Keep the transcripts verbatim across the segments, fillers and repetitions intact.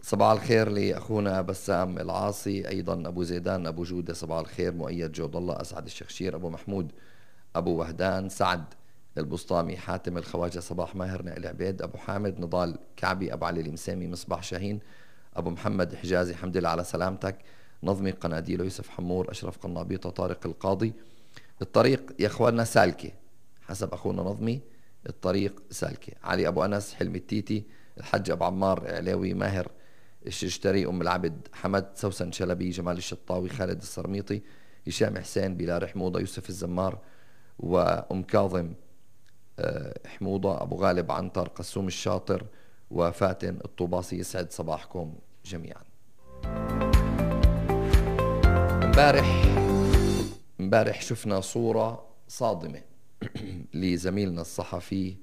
صباح الخير لأخونا بسام العاصي، أيضا أبو زيدان أبو جودة صباح الخير، مؤيد جود الله، أسعد الشخشير، أبو محمود أبو وهدان، سعد البسطامي، حاتم الخواجة، صباح ماهر، نائل عبيد، أبو حامد، نضال كعبي، أبو علي المسامي، مصباح شاهين، أبو محمد حجازي، حمد لله على سلامتك، نظمي قناديل، يوسف حمور، أشرف قنابيطة، طارق القاضي. الطريق يا أخواننا سالكة حسب أخونا نظمي، الطريق سالكة. علي أبو أنس، حلمي التيتي، الحج أبو عمار علاوي، ماهر الشجتري، أم العبد، حمد، سوسن شلبي، جمال الشطاوي، خالد السرميطي، هشام حسين، بلال حموضة، يوسف الزمار، وأم كاظم حموضة، أبو غالب عنتر، قسوم الشاطر، وفاتن الطوباصي. يسعد صباحكم جميعا. امبارح امبارح شفنا صورة صادمة لزميلنا الصحفي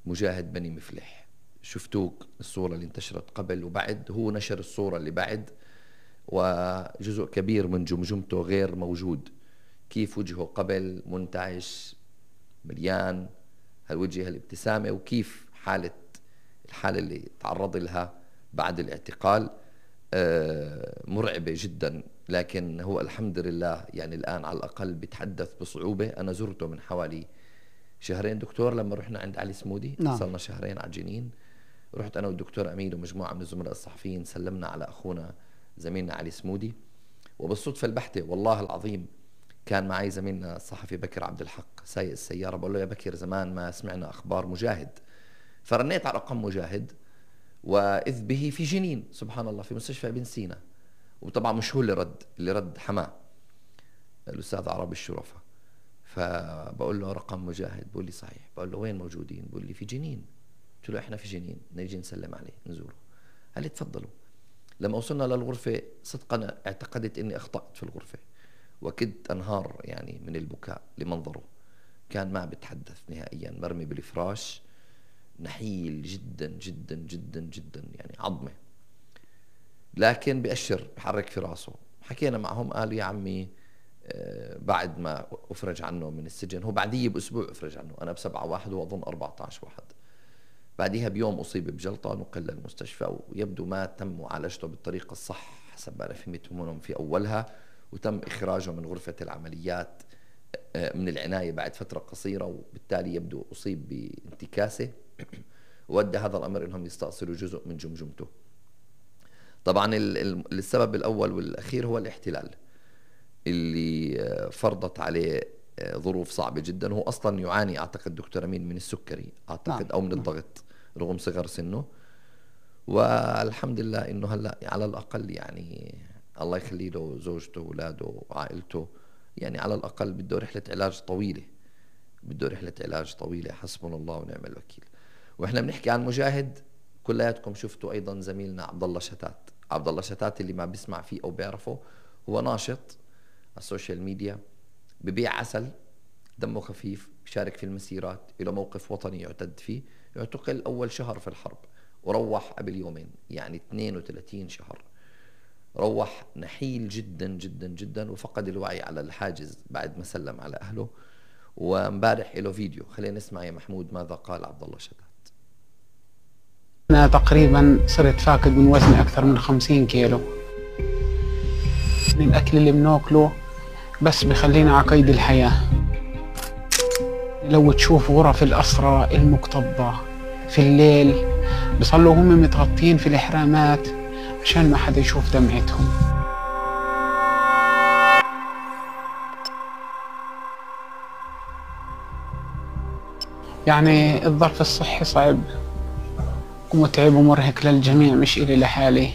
مجاهد بني مفلح. شفتوك الصورة اللي انتشرت قبل وبعد، هو نشر الصورة اللي بعد وجزء كبير من جمجمته غير موجود. كيف وجهه قبل منتعش مليان هالوجه هالابتسامة، وكيف حالة الحالة اللي تعرض لها بعد الاعتقال مرعبة جدا. لكن هو الحمد لله يعني الآن على الأقل بيتحدث بصعوبة. أنا زرته من حوالي شهرين دكتور لما رحنا عند علي سمودي، نعم. صلنا شهرين على الجنين. رحت أنا والدكتور أمين ومجموعة من الزملاء الصحفيين، سلمنا على أخونا زميلنا علي سمودي، وبالصدفة البحتة والله العظيم كان معي زميلنا الصحفي بكر عبد الحق سايق السيارة. بقول له يا بكر زمان ما سمعنا أخبار مجاهد، فرنيت على رقم مجاهد وإذ به في جنين سبحان الله في مستشفى ابن سينا. وطبعا مش هو اللي رد، اللي رد حماه الأستاذ عربي الشرفة. فبقول له رقم مجاهد، بقول لي صحيح. بقول له وين موجودين؟ بقول لي في جنين. قلت له احنا في جنين نيجي نسلم عليه نزوره. قال لي تفضلوا. لما وصلنا للغرفة صدقا اعتقدت اني اخطأت في الغرفة وكدت انهار يعني من البكاء لمنظره. كان ما بتحدث نهائيا، مرمي بالفراش، نحيل جدا جدا جدا جدا يعني عظمة، لكن بأشر بحرك في راسه. حكينا معهم قالوا يا عمي بعد ما أفرج عنه من السجن، هو بعديه بأسبوع أفرج عنه، أنا بسبعة واحد وأظن أربعة عشر واحد، بعديها بيوم أصيب بجلطة نقل للمستشفى، ويبدو ما تم معالجته بالطريقة الصح حسب ما أنا فهمت منهم في أولها، وتم إخراجه من غرفة العمليات من العناية بعد فترة قصيرة، وبالتالي يبدو أصيب بانتكاسة وودى هذا الأمر إنهم يستأصلوا جزء من جمجمته. طبعا السبب الأول والأخير هو الاحتلال اللي فرضت عليه ظروف صعبة جدا. هو أصلا يعاني أعتقد دكتور أمين من السكري أعتقد نعم. أو من الضغط رغم صغر سنه، والحمد لله إنه هلأ على الأقل يعني الله يخلي له زوجته وأولاده وعائلته، يعني على الأقل بده رحلة علاج طويلة، بده رحلة علاج طويلة، حسبنا الله ونعم الوكيل. وإحنا بنحكي عن مجاهد كلياتكم شفتوا أيضا زميلنا عبد الله شتات. عبد الله شتات اللي ما بيسمع فيه أو بيعرفه، هو ناشط على السوشيال ميديا، ببيع عسل، دمه خفيف، بيشارك في المسيرات، له موقف وطني يعتد فيه. يعتقل أول شهر في الحرب وروح قبل يومين، يعني اثنين وثلاثين شهر. روح نحيل جدا جدا جدا وفقد الوعي على الحاجز بعد ما سلم على أهله. ومبارح له فيديو، خلينا نسمع يا محمود ماذا قال عبد الله شتات. أنا تقريبا صرت فاقد من وزني أكثر من خمسين كيلو. الأكل اللي بناكله بس بخلينا على قيد الحياة. لو تشوف غرف الأسرى المكتظة في الليل بيصلوا هم متغطين في الإحرامات عشان ما حدا يشوف دمعتهم. يعني الظرف الصحي صعب ومتعب ومرهق للجميع، مش إلي لحالي.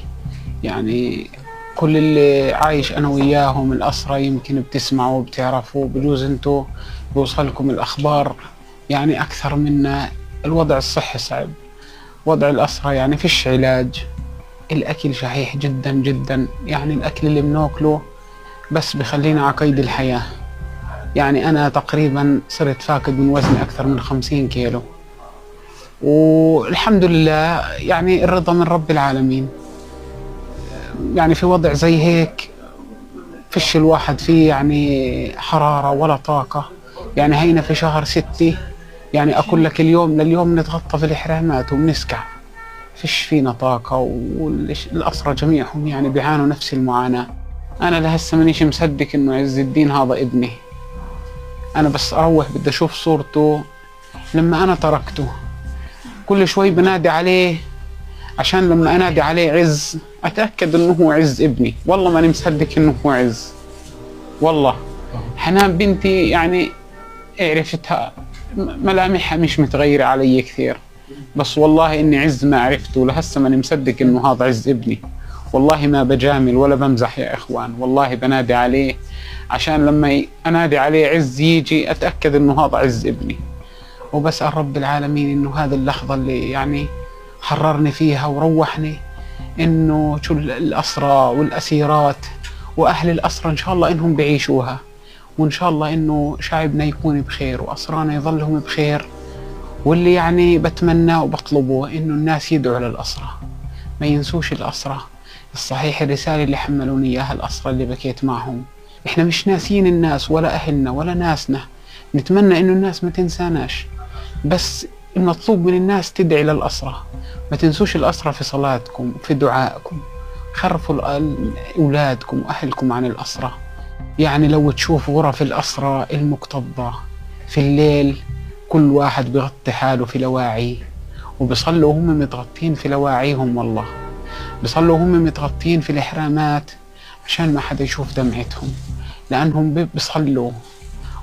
يعني كل اللي عايش أنا وياهم الأسرى يمكن بتسمعوا وبتعرفوا، بجوز انتوا بوصلكم الأخبار يعني أكثر منا. الوضع الصحي صعب، وضع الأسرى يعني فيش علاج، الأكل شحيح جدا جدا، يعني الأكل اللي بناكله بس بخلينا على قيد الحياة. يعني أنا تقريبا صرت فاقد من وزني أكثر من خمسين كيلو، والحمد لله يعني الرضا من رب العالمين. يعني في وضع زي هيك فيش الواحد فيه يعني حرارة ولا طاقة. يعني هينا في شهر ستة يعني أقول لك اليوم لليوم نتغطى في الإحرامات وبنسكع، فيش فينا طاقة، والأسرى جميعهم يعني بيعانوا نفس المعاناة. أنا لهسه مانيش مصدق إنه عز الدين هذا ابني. أنا بس أروح بدي أشوف صورته لما أنا تركته. كل شوي بنادي عليه عشان لما أنادي عليه عز أتأكد إنه هو عز ابني. والله ماني مصدق إنه هو عز. والله حنان بنتي يعني عرفتها ملامحها مش متغيرة علي كثير، بس والله إني عز ما عرفته لهسه ماني مصدق إنه هذا عز ابني. والله ما بجامل ولا بمزح يا إخوان، والله بنادي عليه عشان لما أنادي عليه عز يجي أتأكد إنه هذا عز ابني. وبسأل رب العالمين إنه هذه اللحظة اللي يعني حررني فيها وروحني، إنه شو الأسرى والأسيرات وأهل الأسرى إن شاء الله إنهم بيعيشوها، وإن شاء الله إنه شعبنا يكون بخير وأسرانا يظلهم بخير. واللي يعني بتمنى وبطلبه إنه الناس يدعوا للأسرى، ما ينسوش الأسرى. الصحيح الرسالة اللي حملوني إياها الأسرى اللي بكيت معهم، إحنا مش ناسين الناس ولا أهلنا ولا ناسنا، نتمنى إنه الناس ما تنساناش، بس المطلوب من الناس تدعي للأسرى. ما تنسوش الأسرى في صلاتكم وفي دعائكم، خرفوا أولادكم وأهلكم عن الأسرى. يعني لو تشوف غرف الأسرى المكتظة في الليل كل واحد بيغطي حاله في لواعي، وبيصلوا هم متغطين في لواعيهم، والله بيصلوا هم متغطين في الإحرامات عشان ما حدا يشوف دمعتهم، لأنهم بيصلوا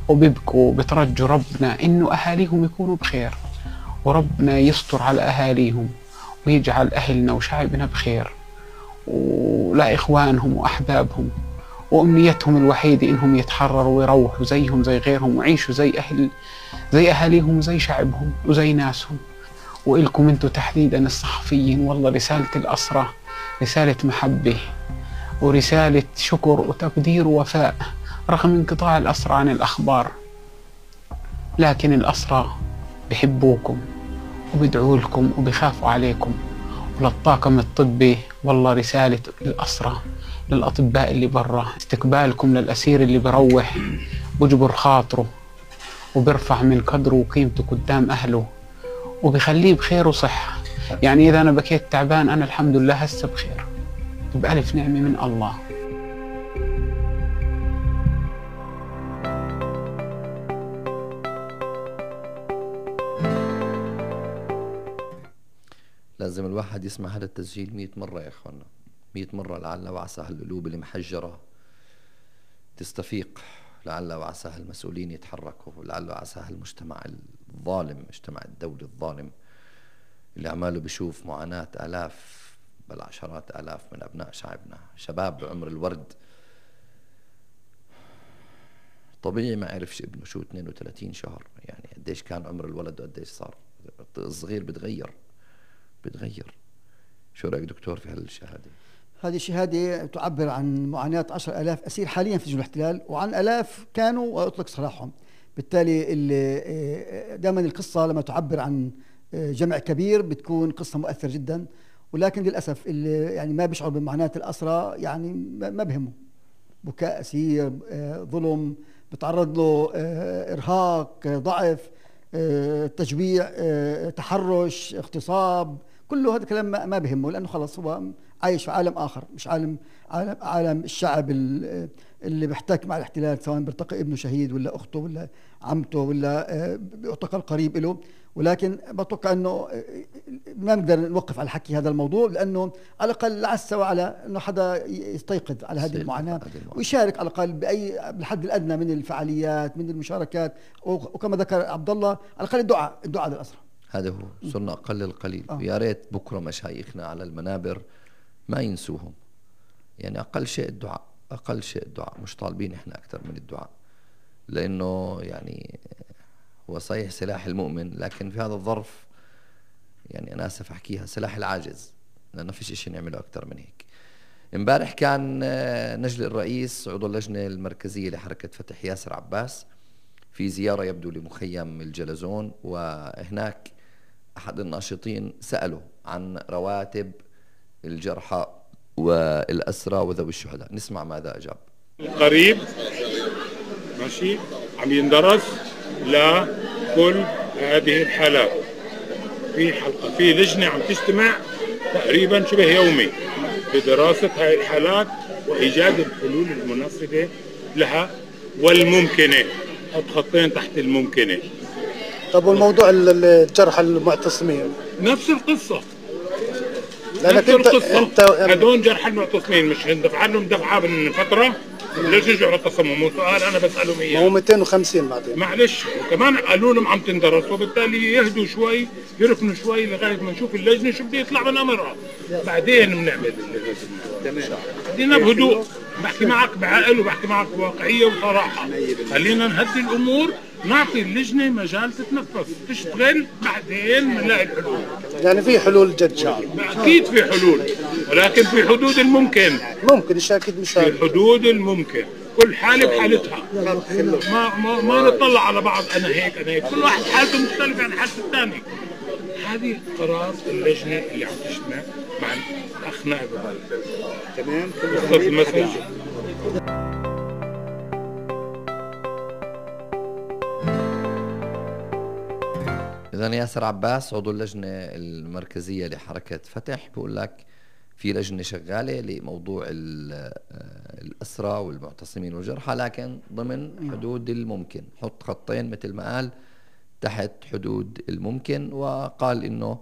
وبيبكوا بترجوا ربنا إنه أهاليهم يكونوا بخير، وربنا يستر على أهاليهم ويجعل أهلنا وشعبنا بخير ولا إخوانهم وأحبابهم. وأمنيتهم الوحيدة إنهم يتحرروا ويروحوا زيهم زي غيرهم ويعيشوا زي أهل زي أهاليهم وزي شعبهم وزي ناسهم. وإلكم أنتوا تحديدا الصحفيين، والله رسالة الأسرى رسالة محبة ورسالة شكر وتقدير ووفاء رغم انقطاع الأسرى عن الأخبار، لكن الأسرى بحبوكم وبيدعوا لكم وبيخافوا عليكم. وللطاقم الطبي والله رسالة الأسرى للأطباء اللي برا، استقبالكم للأسير اللي بروح بجبر خاطره وبرفع من قدره وقيمته قدام أهله وبيخليه بخير وصحة. يعني إذا أنا بكيت تعبان أنا الحمد لله هسه بخير بألف نعمة من الله. لازم الواحد يسمع هذا التسجيل مئة مرة يا إخوانا، مئة مرة، لعل وعسى القلوب المحجرة تستفيق، لعل وعسى المسؤولين يتحركوا، لعل وعسى المجتمع الظالم، مجتمع الدولي الظالم اللي عماله بيشوف معاناة آلاف بل عشرات آلاف من أبناء شعبنا، شباب بعمر الورد. طبيعي ما عرفش ابنه شو اثنين وثلاثين شهر، يعني قديش كان عمر الولد وقديش صار الصغير. بتغير بتغير شو رأيك دكتور في هالشهادة؟ هذه الشهادة تعبر عن معاناة عشر آلاف أسير حاليا في سجون الاحتلال، وعن آلاف كانوا ويطلق سراحهم. بالتالي دائما القصة لما تعبر عن جمع كبير بتكون قصة مؤثرة جدا، ولكن للأسف اللي يعني ما بيشعر بمعاناة الأسرى يعني ما بهمه. بكاء أسير، ظلم، بتعرض له إرهاق، ضعف، تجويع، تحرش، اغتصاب، كله هذا الكلام ما بهمه، لأنه خلص هو عايش في عالم آخر، مش عالم عالم, عالم الشعب اللي بيحتك مع الاحتلال، سواء بيرتقي ابنه شهيد ولا أخته ولا عمته ولا بيعتقل قريب له. ولكن بتوقع أنه ما نقدر نوقف على حكي هذا الموضوع، لأنه على الأقل لعس وعلى أنه حدا يستيقظ على هذه المعاناة ويشارك على الأقل بأي بالحد الأدنى من الفعاليات، من المشاركات، وكما ذكر عبد الله على الأقل الدعاء الدعاء للأسرى. هذا هو، صرنا أقل القليل. آه. يا ريت بكرة مشايخنا على المنابر ما ينسوهم، يعني أقل شيء الدعاء، أقل شيء الدعاء. مش طالبين إحنا أكثر من الدعاء، لأنه يعني هو صحيح سلاح المؤمن، لكن في هذا الظرف يعني أنا آسف أحكيها سلاح العاجز، لأنه فيش إشي نعمله أكثر من هيك. امبارح كان نجل الرئيس عضو اللجنة المركزية لحركة فتح ياسر عباس في زيارة يبدو لمخيم الجلزون، وهناك أحد الناشطين سأله عن رواتب الجرحى والأسرى وذوي الشهداء. نسمع ماذا أجاب. قريب ماشي عم يندرس لكل هذه الحالات، في حلقة في لجنة عم تجتمع تقريبا شبه يومي بدراسة هاي الحالات وإيجاد الحلول المناسبة لها والممكنة. حط خطين تحت الممكنة. طب والموضوع ال- الجرحى المعتصمين نفس القصة. لانك نفس انت القصة. انت هدول جرحى المعتصمين مش اندفع لهم دفعة من فترة ليش يرجعوا اعتصموا؟ مو سؤال أنا بسألهم ما هو إياه. مئتين وخمسين بعدين. معلش وكمان قالوا لهم عم تندرس وبالتالي يهدوا شوي يركنوا شوي لغاية ما نشوف اللجنة شو بده يطلع من أمرها بعدين بنعمل اللي لازم. خلينا بهدوء بحكي معك بعقل وبحكي معك بواقعية وصراحة. خلينا نهدي الأمور نعطي اللجنة مجال تتنفس تشتغل بعدين بنلاقي الحلول. يعني في حلول جد شعب. أكيد في حلول ولكن في حدود الممكن. ممكن مش اكيد مش في حدود الممكن. كل حالة بحالتها. ما ما ما نطلع على بعض أنا هيك أنا هيك كل واحد حالته مختلفة عن حالة الثاني. هذه قرار اللجنة اللي عم تجتمع مع الأخ نائب تمام كل المسؤول. إذن ياسر عباس عضو اللجنة المركزية لحركة فتح بقول لك في لجنة شغالة لموضوع الأسرى والمعتصمين والجرحى لكن ضمن حدود الممكن. حط خطين مثل ما قال تحت حدود الممكن وقال إنه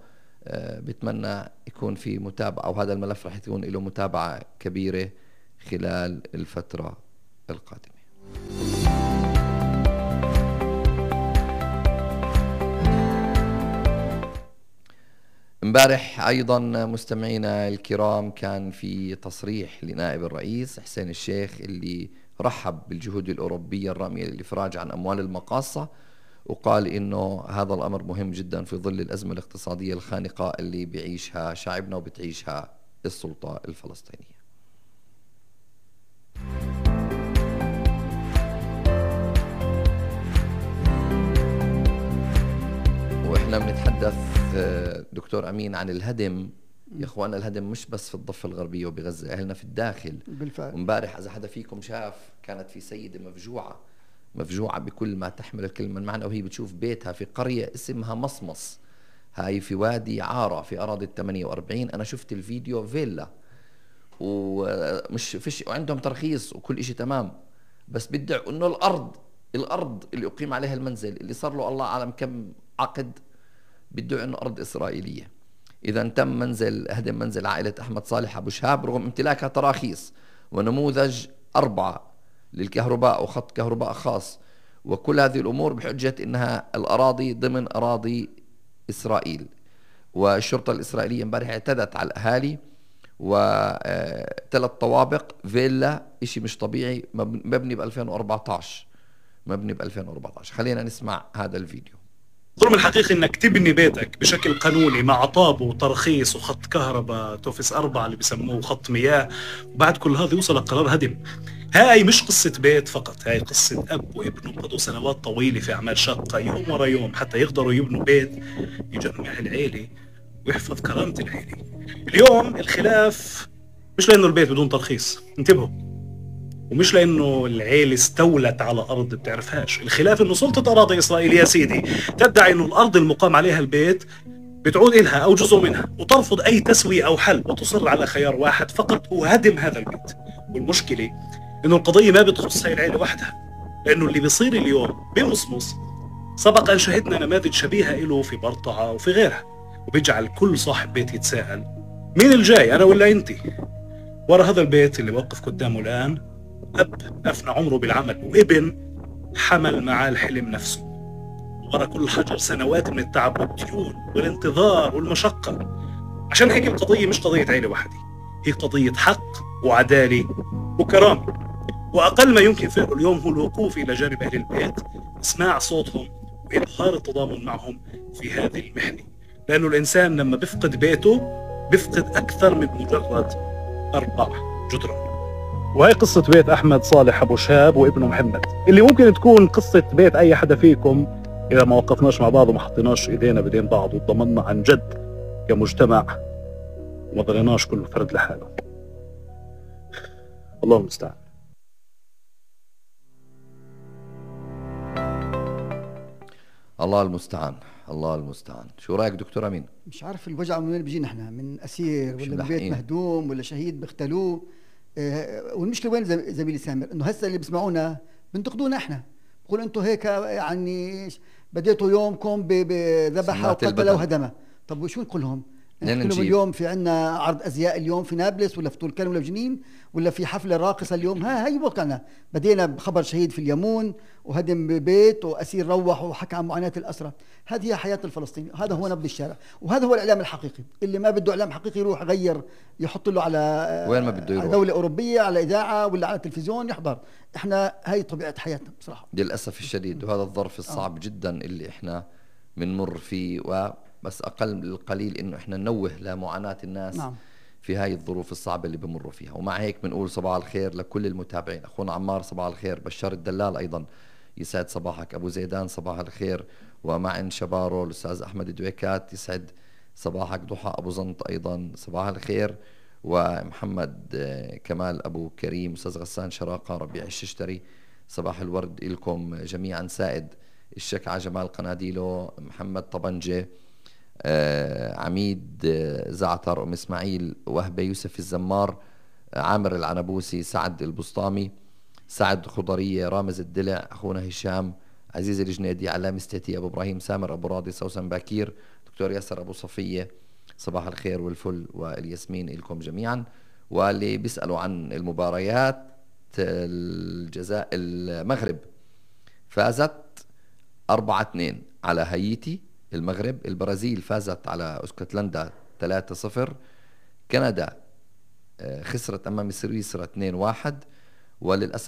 بتمنى يكون في متابعة وهذا الملف رح يكون له متابعة كبيرة خلال الفترة القادمة. امبارح ايضا مستمعينا الكرام كان في تصريح لنائب الرئيس حسين الشيخ اللي رحب بالجهود الاوروبيه الراميه للافراج عن اموال المقاصه وقال انه هذا الامر مهم جدا في ظل الازمه الاقتصاديه الخانقه اللي بيعيشها شعبنا وبتعيشها السلطه الفلسطينيه. واحنا بنتحدث دكتور امين عن الهدم يا اخوانا. الهدم مش بس في الضفه الغربيه وبغزه، اهلنا في الداخل بالفعل. وامبارح اذا حدا فيكم شاف كانت في سيده مفجوعه مفجوعه بكل ما تحمل الكلمه من معنى وهي بتشوف بيتها في قريه اسمها مصمص، هاي في وادي عاره في اراضي الثمانية وأربعين. انا شفت الفيديو فيلا ومش فيش وعندهم ترخيص وكل شيء تمام، بس بدعوا انه الارض الارض اللي اقيم عليها المنزل اللي صار له الله اعلم كم عقد بدعوا انه ارض اسرائيليه. اذا تم منزل هدم منزل عائله احمد صالح ابو شهاب رغم امتلاكها تراخيص ونموذج اربعه للكهرباء وخط كهرباء خاص وكل هذه الامور بحجه انها الاراضي ضمن اراضي اسرائيل. والشرطه الاسرائيليه امبارح اعتدت على الاهالي وثلاث طوابق فيلا اشي مش طبيعي مبني ب ألفين وأربعطعش مبني ب ألفين وأربعطعش. خلينا نسمع هذا الفيديو. الظلم الحقيقي انك تبني بيتك بشكل قانوني مع طابو وترخيص وخط كهرباء توفيس أربعة اللي بسموه خط مياه، وبعد كل هذا يوصل قرار هدم. هاي مش قصة بيت فقط، هاي قصة أب وابنه قضوا سنوات طويلة في أعمال شاقة يوم ورا يوم حتى يقدروا يبنوا بيت يجمع العيلة ويحفظ كرامة العيلة. اليوم الخلاف مش لأنه البيت بدون ترخيص، انتبهوا، ومش لأنه العيلة استولت على أرض بتعرفهاش. الخلاف إنه سلطة أراضي إسرائيل يا سيدي تدعي إنه الأرض المقام عليها البيت بتعود إلها أو جزء منها وترفض أي تسوية أو حل وتصر على خيار واحد فقط هو هدم هذا البيت. والمشكلة إنه القضية ما بتخص هاي العيلة وحدها، لأنه اللي بيصير اليوم بمصمص سبق أن شهدنا نماذج شبيهة له في برطعة وفي غيرها، وبيجعل كل صاحب بيت يتساءل مين الجاي أنا ولا أنتي؟ ورا هذا البيت اللي وقف قدامه الآن أب أفنى عمره بالعمل وابن حمل معاه الحلم نفسه، ورا كل حجر سنوات من التعب والديون والانتظار والمشقة. عشان هيك القضية مش قضية عيلة واحدة، هي قضية حق وعدالة وكرامة. وأقل ما يمكن فعله اليوم هو الوقوف إلى جانب أهل البيت، إسماع صوتهم وإظهار التضامن معهم في هذه المحنة، لأنه الإنسان لما بيفقد بيته بيفقد أكثر من مجرد أربع جدران. وهي قصة بيت أحمد صالح أبو شهاب وابنه محمد، اللي ممكن تكون قصة بيت أي حدا فيكم إذا ما وقفناش مع بعض وما حطيناش إيدينا بدين بعض وضمننا عن جد كمجتمع وما ضليناش كل فرد لحاله. الله المستعان. الله المستعان. الله المستعان. شو رايك دكتور امين؟ مش عارف الوجع من وين بيجينا احنا، من اسير مش ولا من بيت ملحقين. مهدوم ولا شهيد بيختلوه. آه، والمشكله وين زم- زميلي سامر؟ انه هسه اللي بيسمعونا بنتقدونا احنا، بقول انتم هيك يعني بديتوا يومكم ب- بذبحه سمات وقتله البدن. وهدمه. طب وشو نقول لهم؟ منين نحكي لهم نجيب؟ اليوم في عنا عرض ازياء اليوم في نابلس ولا في طول كرم ولا في جنين ولا في حفله راقصه اليوم؟ ها هي واقعنا. بدينا بخبر شهيد في اليمون وهدم ببيت واسير روح وحكى عن معاناه الاسرى. هذه هي حياه الفلسطيني، هذا هو نبض الشارع، وهذا هو الاعلام الحقيقي. اللي ما بده اعلام حقيقي يروح يغير، يحط له على وين ما بده على يروح. دوله اوروبيه، على اذاعه ولا على تلفزيون يحضر. احنا هاي طبيعه حياتنا بصراحه. للأسف الشديد، وهذا الظرف الصعب جدا اللي احنا بنمر فيه، وبس أقل القليل إنه احنا ننوه لمعاناة الناس نعم. في هاي الظروف الصعبة اللي بمروا فيها. ومع هيك بنقول صباح الخير لكل المتابعين. أخونا عمار صباح الخير، بشار الدلال أيضا يسعد صباحك، أبو زيدان صباح الخير، ومعن شبارو الأستاذ أحمد دويكات يسعد صباحك، ضحى أبو زنط أيضا صباح الخير، ومحمد آه، كمال أبو كريم، أستاذ غسان شراقة، ربيع الششتري صباح الورد إلكم جميعا، سائد الشكعة، جمال قناديلو، محمد طبنجة، آه، عميد آه، زعتر، أم إسماعيل، وهبة يوسف الزمار، آه، عامر العنبوسي، سعد البسطامي، سعد خضرية، رامز الدلع، أخونا هشام، عزيز الجنيدي، علام استيتي، أبو إبراهيم سامر، أبو راضي، سوسن باكير، دكتور ياسر أبو صفية، صباح الخير والفل والياسمين لكم جميعا. واللي بيسألوا عن المباريات، الجزاء المغرب فازت أربعة اثنين على هايتي المغرب، البرازيل فازت على اسكتلندا ثلاثة صفر، كندا آه، خسرت أمام سويسرا اثنين واحد، وللأسف